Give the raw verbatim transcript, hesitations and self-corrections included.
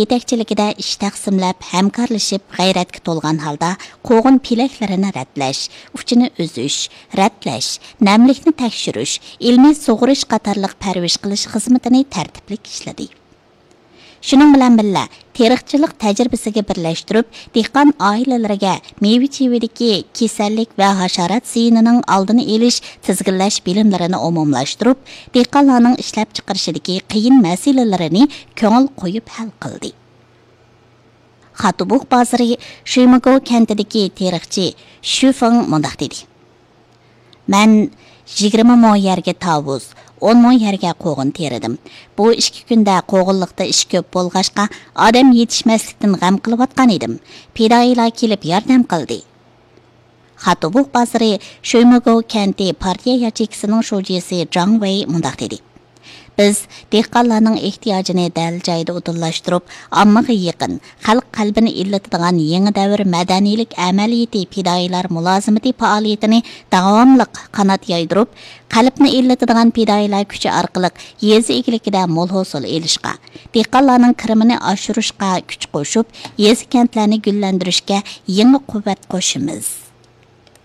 يېتەكچىلىكىدە ئىش تەقسىملەپ، ھەمكارلىشىپ، غەيرەتكە تولغان ھالدا قوغۇن پېلەكلىرىنى رەتلەش، ئۇچىنى ئۈزۈش، رەتلەش، نەملىكنى تەكشۈرۈش، ئىلمىي سۇغىرىش قاتارلىق پەرۋىش قىلىش خىزمىتىنى تەرتىپلىك ئىشلىدى. شۇنىڭ بىلەن بىللە، تېرىقچىلىق تەجرىبىسىگە بىرلەشتۈرۈپ، دېھقان ئائىلىلىرىگە مېۋە چېۋىدىكى كېسەللىك ۋە ھاشارات زىيىنىنىڭ ئالدىنى ئېلىش، تىزگىنلەش بىلىملىرىنى ئومۇملاشتۇرۇپ، دېھقانلارنىڭ ئىشلەپچىقىرىشىدىكى قىيىن مەسىلىلىرىنى كۆڭۈل قويۇپ ھەل قىلدى. خاتۇبۇق بازىرى شۈيمىگو كەنتىدىكى تېرىقچى شۈ فېڭ مۇنداق دېدى: مەن يىگىرمە مو يەرگە تاۋۇز، ئون مو يەرگە قوغۇن تېرىدىم. بۇ ئىككى كۈندە قوغۇنلۇقتا ئىش كۆپ بولغاچقا، ئادەم يېتىشمەسلىكتىن غەم قىلىۋاتقان ئىدىم. پىدائىيلار كېلىپ ياردەم قىلدى. خاتۇبۇق بازىرى شۈيمىگو كەنتى پارتىيە ياچېيكىسىنىڭ شۇجىسى جاڭ ۋېي مۇنداق دېدى: بىز دېھقانلارنىڭ ئېھتىياجىنى دەل جايىدا ئۇدۇللاشتۇرۇپ، ئاممىغا يېقىن، خەلق قەلبىنى ئىللىتىدىغان يېڭى دەۋر مەدەنىيلىك ئەمەلىيىتى پىدائىيلار مۇلازىمىتى پائالىيىتىنى داۋاملىق قانات يايدۇرۇپ، قەلبنى ئىللىتىدىغان پىدائىيلار كۈچى ئارقىلىق يېزا ئىگىلىكىدە مول ھوسۇل ئېلىشقا، دېھقانلارنىڭ كىرىمىنى ئاشۇرۇشقا كۈچ قوشۇپ، يېزا كەنتلەرنى گۈللەندۈرۈشكە يېڭى قۇۋۋەت قوشىمىز.